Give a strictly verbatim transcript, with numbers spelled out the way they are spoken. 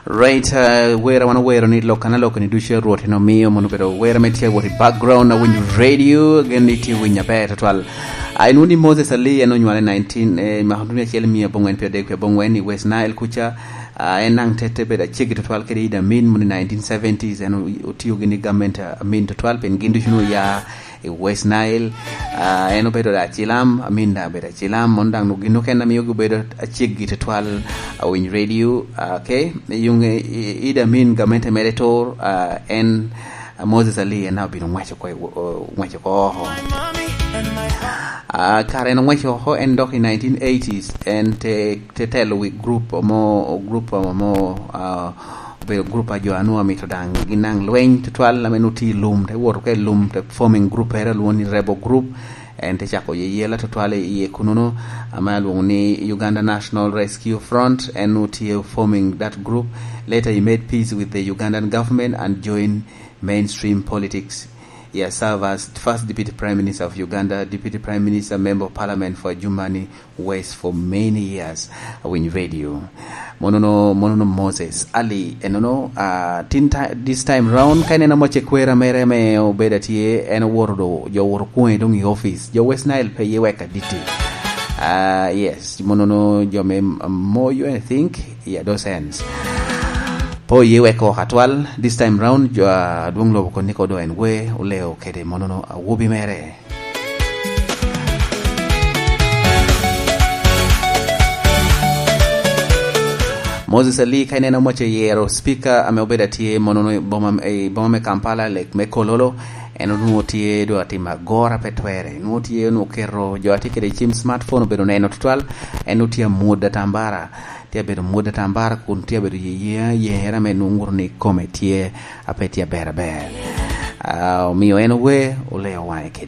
Right, uh, wera wan owero ni lok analoka ni ducu a Rwot en omio mono obedo wera me tye wot i background na winyo radio, gen ni tye winyo aber tutwal. Ai, nu ni Moses Ali en onywale nineteen, eh, ma duni acel mia abongwen pye adek pye abongwen i West Nile kuca. Ah, en nang tete bedo acegi tutwal kede Idi Amin mono i nineteen seventies, en o-, otiyo gini government, ah, Amin tutwal, pen gin ducu nu ya i West Nile. Ah, en obedo da acilam, Amin da obedo acilam, mon daŋ gin okene a mio gibedo aceggi tutwal, ah, winy radio. Ah, okay, yung, eh, Idi Amin gamente mere tur, ah, en, ah, Moses Ali en obino ngwaco oko i wo-, o-, ngwaco oko oko. Ah, kare en ongwaco oko, en dok i nineteen eighties, en te, te telo wi group mo, group mo, ah, obedo group a jo a nwoŋo amito daŋ ginaŋ lweny tutwal, ame nwoŋo tye i lum, te woto ka i lum, te forming group ere alwoŋo ni Rebel Group. En te cako yeyela tutwal i iye kunono, ame alwoŋo ni Uganda National Rescue Front. En nwoŋo tye forming that group. Later he made peace with the Ugandan government and joined mainstream politics. He has served as first Deputy Prime Minister of Uganda, Deputy Prime Minister, Member of Parliament for Adjumani West for many years. Awinyo radio. Monono, monono Moses Ali. Enono, ah, tin ti-, this time round, ka ineno moce kwera mere ame obedo atye, en owoto do, jo owoto kwone dong i office. Jo West Nile pe ye wek aditi. Ah, yes, monono jo me m-, moyo, I think, yeah, those ends. Po ye wek oko atwal, this time round, jo, ah, adwoŋ lobo koniko do en we, oleo kede monono awobi mere. Moses Ali, ka ineno moce yero speaker ame obedo atye mono i boma, i boma me Kampala, lek me Kololo, en onwoŋo tye do atimo agora pe twere. Nwoŋo tye onwoŋo keto jo atye kede cim smartphone obedo neno tutwal, en onwoŋo tye amwodo atambara. Tye abedo mwodo atambara kun tye abedo ye, ye, yere ame nwoŋo ŋuto ni kome tye a pe tye aber aber. Ah, omio en owe, oleo waŋe